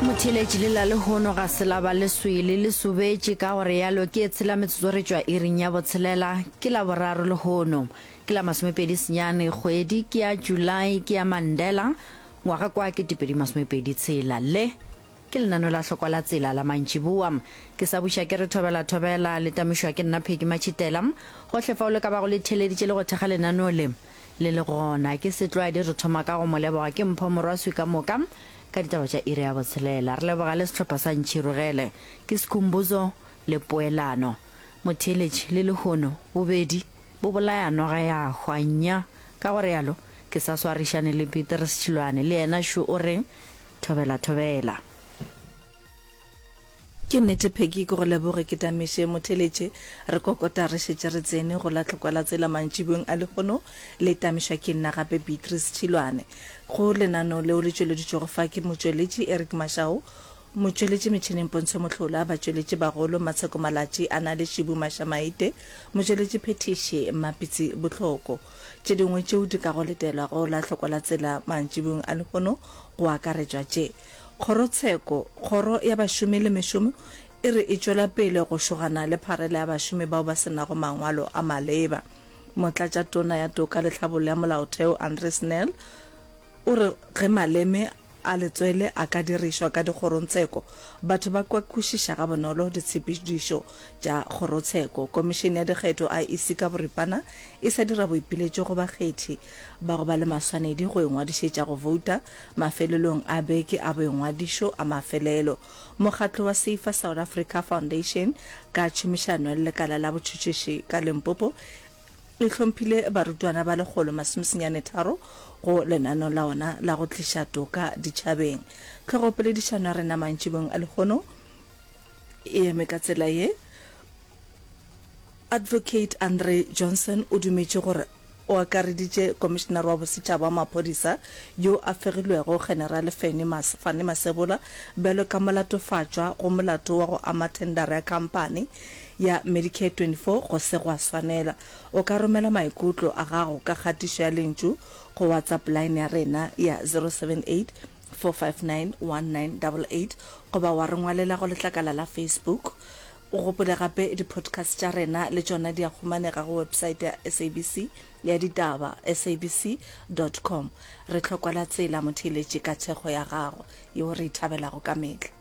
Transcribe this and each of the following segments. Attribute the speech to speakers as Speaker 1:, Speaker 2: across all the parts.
Speaker 1: Motheeletši le la lehono ga se la ba le swele le sobetše ka gore yalo ke e tshela metsotso re tšwa iring ya botshelela ke la boraro lehono ke la masomepedi senyane kgwedi ke ya July ke ya Mandela ngwaga kwa ke 2026 tshela le Ke lenaneo la hlokwa la tsela la mantšiboa. Ke sa buša ke re thobela thobela le tamišwa ke nna Peggy Matšhitela. Gohle fao le ka bago le theeleditše le go thekga lenaneo le, le le gona. Ke setlwaedi re thoma ka go mo leboga ke Mpho Morwaswi ka moka ka ditaba tša iri ya botshelela. Re leboga le sehlopha sa Ntšhirogele. Ke Sikhumbuzo le Poelano. Motheeletši le lehono bobedi bo bolaya noga ya hwa. Nnya! Ka go realo ke sa swarišane le Petrus Tšhilwane le yena šo o reng Thobela thobela.
Speaker 2: Ke nnete Peggy ke go leboge ke tamiše motheletše re kokota re šetše re tsene go la tlhokwa la tsela mantšiboeng a lehono le tamišwa ke nna gape Beatrice Tšhilwane go lenaneo leo le tšweleditšwego fa ke motšweletši Eric Mashau motšweletši metšhineng Pontsho Mohlola batšweletši bagolo Matsheko Malatši a na le Šibu Mašamaite motšweletši phethiši Mmapitsi Bohloko Tše dingwe tšeo di kago letelwa go la hlokwa la tsela mantšiboeng a lehono go akaretšwa tše, Kgorotsheko, Kgoro ya Bašomi le Mešomo e re e tšwela pele go šogana le pharela ya bašomi bao ba se nago mangwalo a maleba. Motlatšatona ya Toka le Tlhabollo ya Molaotheo Andries Nel O re ge maleme a letswele a ka dirišwa ka dikgorongtsheko, batho ba ka kwešiša gabonolo ditshepedišo tša kgorotsheko. Komišene ya Dikgetho, IEC, ka boripana e sa dira boipiletšo go bakgethi ba go ba le maswanedi go ingwadišetša go bouta mafelelong a beke a boingwadišo a mafelelo. Mokgatlo wa Safer South Africa Foundation ka tšhomišano le lekala la botšhotšhiši ka Limpopo e hlomphile barutwana ba 173 go lenaneo la ona la go tliša toka ditšhabeng. Tlhogopoledišano ya rena mantšibong a lehono e eme ka tsela ye, Advocate Andre Johnson o dumetše gore o akareditše Komišenare wa Bosetšhaba wa Maphodisa yo a fegilwego Generale Fannie Fannie Masemola bjalo ka molatofatšwa go molato wa go ama thendara ya khamphani ya Medicare 24 go se gwa swanela. O ka romela maikutlo a gago ka kgatišo ya lentšu go WhatsApp line ya rena ya 078 459 1988 goba wa re ngwalela go letlakala la Facebook. O gopole gape di-podcast tša rena le tšona di a humanega go website ya SABC ya ditaba, sabc dot com. Re hlokwela tsela motheeletši ka thekgo ya gago yeo re e thabelago ka mehla.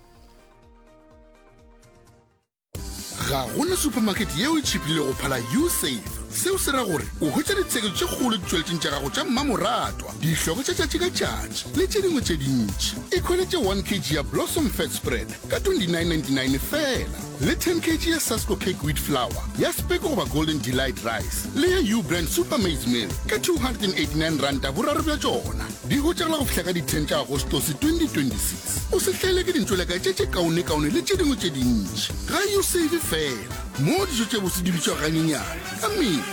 Speaker 3: Ga go na supermarket yeo e tšhiphilego go phala Usave. Seo se ra gore o hwetša ditsheketšo tše kgolo ditšweletšing tša gago tša mmamoratwa, dihlogo tša tšatši ka tšatši le tše dingwe tše dintši. Ikhweletše 1 kg ya Blossom Fat Spread ka 29.99 feela le 10 kg ya Sasko Cake Wheat Flour ya Speke goba Golden Delight Rice le ya U-Brand Super Maize Meal ka 289 ranta boraro bja tšona. Di hwetšagala go fihla ka di 10 tša Agostose 2026. O se hlaelwe ke dintšoleka tše tše kaonekaone le tše dingwe tše dintši. Ga U-Save feela, moo dijo tše bose di bitšwago ganyenyane ka mehla.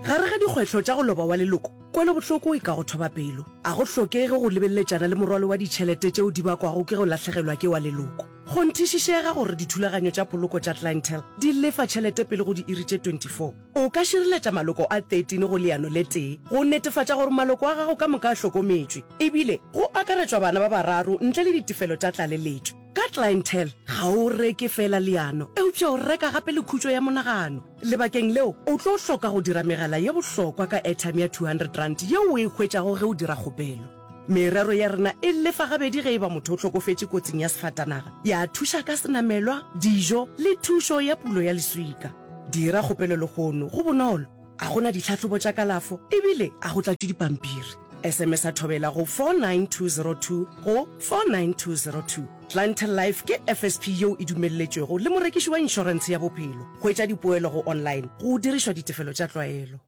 Speaker 4: Gare ga dikgwetlho tša go loba wa leloko, kwelobohloko e ka go thoba pelo. A go hlokege go lebeleletšana le morwalo wa ditšhelete tšeo di bakwago ke go lahlegelwa ke wa leloko. Kgonthišišega gore dithulaganyo tša poloko tša Clientele di lefa tšhelete pele go diiri tše 24. O ka šireletša maloko a 13 go leano le tee go netefatša gore maloko a gago ka moka a hlokometšwe, ebile go akaretšwa bana ba bararo ntle le ditefelo tša tlaleletšo. Ka Clientele, ga o reke feela leano, eupša o reka gape le khutšo ya monagano. Lebakeng leo, o tlo hloka go dira megala ye bohlokwa ka airtime ya R200 yeo o e hwetšago ge o dira kgopelo. Merero ya rena e lefa gabedi ge e ba motho o hlokofetše kotsing ya sefatanaga, ya thuša ka senamelwa, dijo le thušo ya pulo ya leswika. Dira kgopelo lehono, go bonolo, a go na ditlhahlobo tša kalafo ebile a go tlatšwe dipampiri. SMS-a Thobela go 49202 go 49202. Clientele Life ke FSP yeo e dumelletšwego le morekiši wa inšorentshe ya bophelo. Hwetša dipoelo go online go dirišwa ditefelo tša tlwaelo.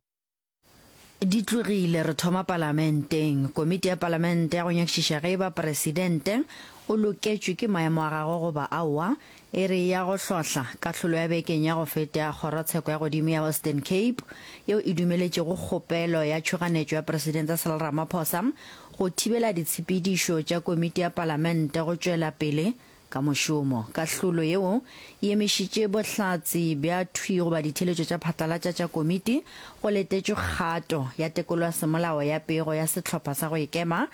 Speaker 1: Di tlogile, re thoma Palamenteng. Komiti ya Palamente ya go nyakišiša ge e ba Presidente o loketšwe ke maemo a gagwe goba aowa, e re e ya go hlohla kahlolo ya bekeng ya go feta ya Kgorotsheko ya Godimo ya Western Cape yeo e dumeletšego kgopelo ya tšhoganetšo ya Presidente Cyril Ramaphosa go thibela ditshepedišo tša komiti ya palamente go tšwela pele ka mošomo. Kahlolo yeo e emišitše bohlatse bja thwi goba ditheeletšo tša phatlalatša tša komiti go letetšwe kgato ya tekolo ya semolao ya pego ya sehlopha sa go ikema.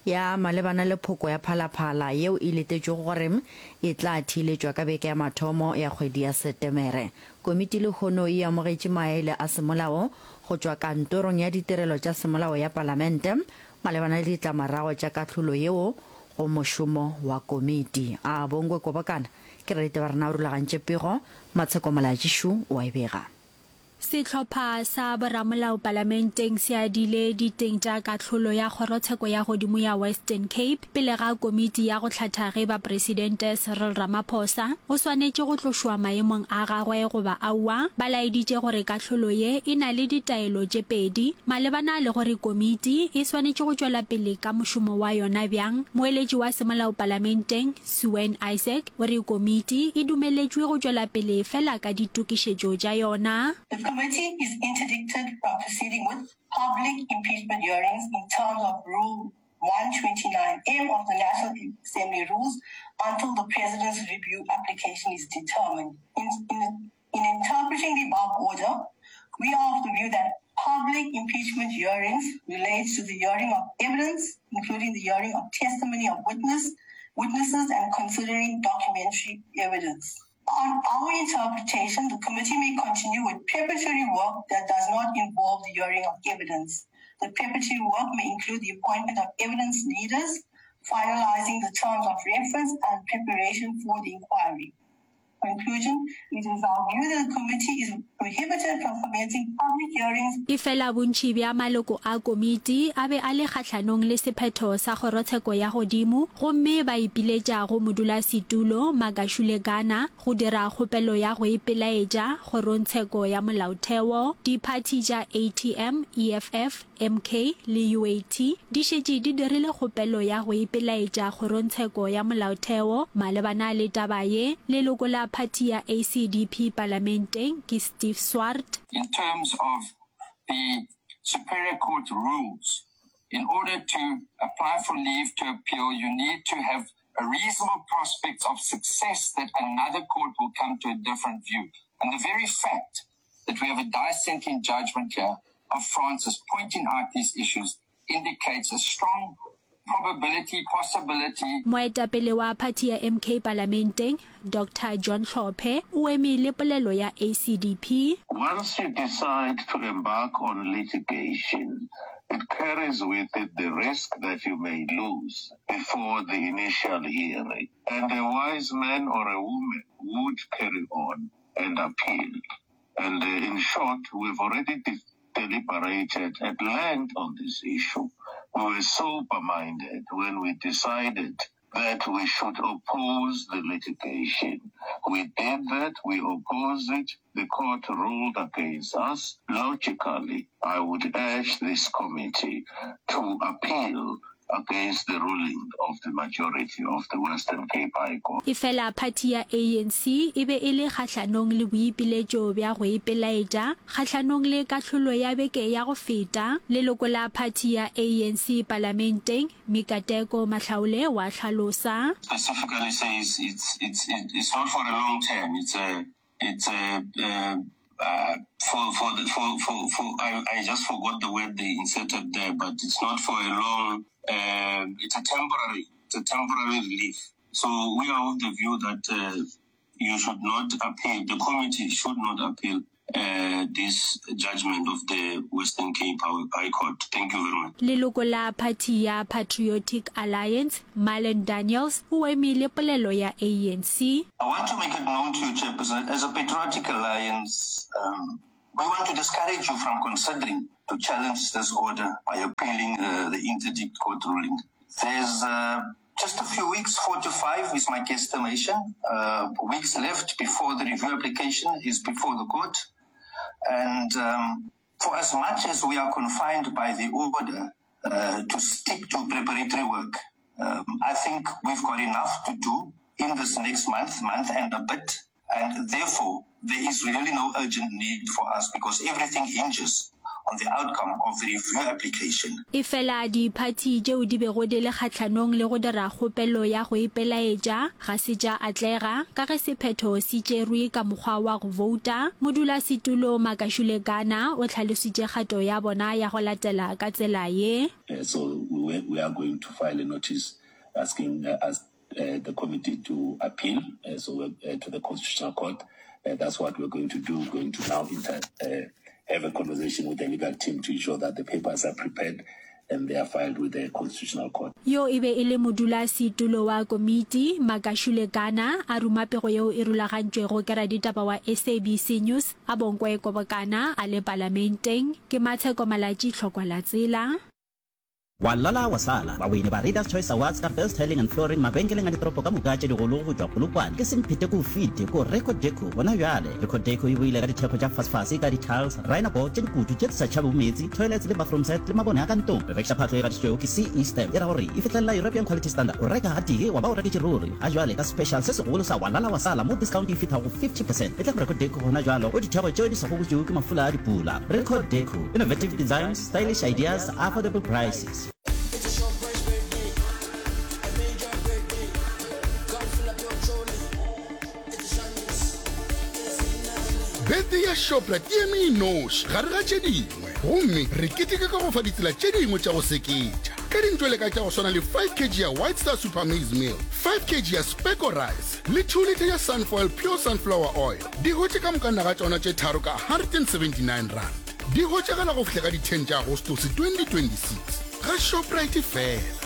Speaker 1: ya malebana le phoko ya Phalaphala yeo e letetšwego gore e tla theeletšwa ka beke ya mathomo ya kgwedi ya Setemere. Komiti lehono e amogetše maele a semolao go tšwa Kantorong ya Ditirelo tša Semolao ya Palamente malebana le ditlamorago tša kahlolo yeo go mošomo wa komiti. A Bongwe Kobokana ke raditaba rena o rulagantše pego, Matsheko Molaetšišu o a e bega.
Speaker 5: Sehlopha sa boramolao palamenteng se adile diteng tša kahlolo ya Kgorotsheko ya Godimo ya Western Cape pele ga komiti ya go hlatha ge eba Presidente Cyril Ramaphosa o swanetše go tlošwa maemong a gagwe goba aowa. Ba laeditše gore kahlolo ye e na le ditaelo tše pedi malebana le gore komiti e swanetše go tšwela pele ka mošomo wa yona bjang. Moeletši wa semolao palamenteng, Suen Isaac, o re komiti e dumeletšwe go tšwela pele fela ka ditokišetšo tša yona.
Speaker 6: The committee is interdicted from proceeding with public impeachment hearings in terms of Rule 129M of the National Assembly Rules until the President's review application is determined. In, in, in interpreting the above order, we are of the view that public impeachment hearings relates to the hearing of evidence, including the hearing of testimony of witness, witnesses and considering documentary evidence. On our interpretation, the committee may continue with preparatory work that does not involve the hearing of evidence. The preparatory work may include the appointment of evidence leaders, finalizing the terms of reference and preparation for the inquiry. Conclusion, It is our view that the committee is prohibited from commencing public hearings.
Speaker 5: Efela bontši bja maloko a komiti a be a le kgahlanong le sephetho sa kgorotsheko ya godimo gomme ba ipiletša go modulasetulo Magashule Gana go dira kgopelo ya go ipelaetša kgorongtsheko ya molaotheo. Diphathi tša ATM, EFF, MK le UAT di šetše di dirile kgopelo ya go ipelaetša kgorongtsheko ya molaotheo malebana le taba ye. Leloko la phathi ya ACDP palamenteng ke Steve Swart.
Speaker 7: In terms of the Superior Court rules, in order to apply for leave to appeal, you need to have a reasonable prospect of success that another court will come to a different view. And the very fact that we have a dissenting judgment here of Francis pointing out these issues indicates a strong probability, possibility.
Speaker 5: Moetapele wa phathi ya MK palamenteng, Doctor John Hlophe, o eme le polelo ya ACDP.
Speaker 8: Once you decide to embark on litigation, it carries with it the risk that you may lose before the initial hearing, and a wise man or a woman would carry on and appeal. And in short, we've already deliberated at length on this issue. We were sober-minded when we decided that we should oppose the litigation. We did that, we opposed it, the court ruled against us. Logically, I would urge this committee to appeal against the ruling of the majority of the Western Cape High Court.
Speaker 5: Efela phathi ya ANC e be e le kgahlanong le boipiletšo bja go ipelaetša kgahlanong le kahlolo ya beke ya go feta. Leloko la phathi ya ANC palamenteng, Mikateko Mahlaule wa hlalosa.
Speaker 7: Specifically says it's it's it's not for a long term, it's a It's a, uh, uh, for, for, the, for, for, for I, I just forgot the word they inserted there, but it's not for a long, uh, it's a temporary, it's a temporary relief. So we are of the view that uh, you should not appeal, the committee should not appeal uh, this judgment of the Western Cape High Court. Thank you very much.
Speaker 5: Leloko la phathi ya Patriotic Alliance Marlon Daniels o eme le polelo ya ANC.
Speaker 7: I want to make it known to you, Chairperson, that as a Patriotic Alliance, um, we want to discourage you from considering to challenge this order by appealing uh, the interdict court ruling. There's uh, just a few weeks, four to five is my guesstimation, uh, weeks left before the review application is before the court. And um, for as much as we are confined by the order uh, to stick to preparatory work, um, I think we've got enough to do in this next month, month and a bit. And therefore, there is really no urgent need for us because everything hinges on the outcome of the review application.
Speaker 5: Efela diphathi tšeo di bego di le kgahlanong le go dira kgopelo ya go ipelaetša ga se tša atlega, ka ge sephetho se tšerwe ka mokgwa wa go bouta. Modulasetulo Makashule Gana o hlalositše kgato ya bona ya go latela ka tsela ye.
Speaker 8: So we we are going to file a notice asking us the committee to appeal so to the Constitutional Court. That's what we're going to do. We're going to now inter, have a conversation with the legal team to ensure that the papers are prepared and they are filed with the Constitutional Court.
Speaker 5: Yo e be e le modulasetulo wa komiti, Makashule Gana, a ruma pego yeo e rulagantšwego ke raditaba wa SABC News, Abonkwe Kobokana, a le Palamenteng. Ke Matsheko Malatji, Tlhokwa la Tsela.
Speaker 9: Wa lala wa sala, bawini ba Readers Choice Awards ka Best Tiling and Flooring mabenkeleng a ditoropo ka moka tše digolo go tšwa Polokwane ke Semphete ko Fite ko Record Deco gona bjale. Record Deco e boile ka dithekgo tša fasefase ka di-tiles, rhino board tše dikutu tše di sa tšhabego meetse, toilets le bathroom set le mabone a ka ntlong. Re rekiša phahlo e gatišitšwego ke CE Stamp e ra gore e fihlelela European Quality Standard. O reka gatee wa ba o reketše ruri. Ga jwale ka special se segolo sa wa lala wa sala mo discount e fihla go 50 percent. Etla go Record Deco gona bjalo go dithekgo tšeo di sa gobotšwego ke mafula a dipula. Record Deco, innovative designs, Stylish ideas, affordable prices.
Speaker 3: Birthday ya Shoprite e eme e noši gare ga tše dingwe, gomme re keteka ka go fa ditsela tše dingwe tša go seketša ka dintšwele ka tša go swana le 5 kg ya White Star Super Maize Meal, 5 kg ya Specco Rice le 2 litre ya Sunfoil Pure Sunflower Oil. Di hwetše ka moka naga tšona tše tharo ka R179. Di hwetšagala go fihla ka di 10 tša Agostose 2026 ga Shoprite fela.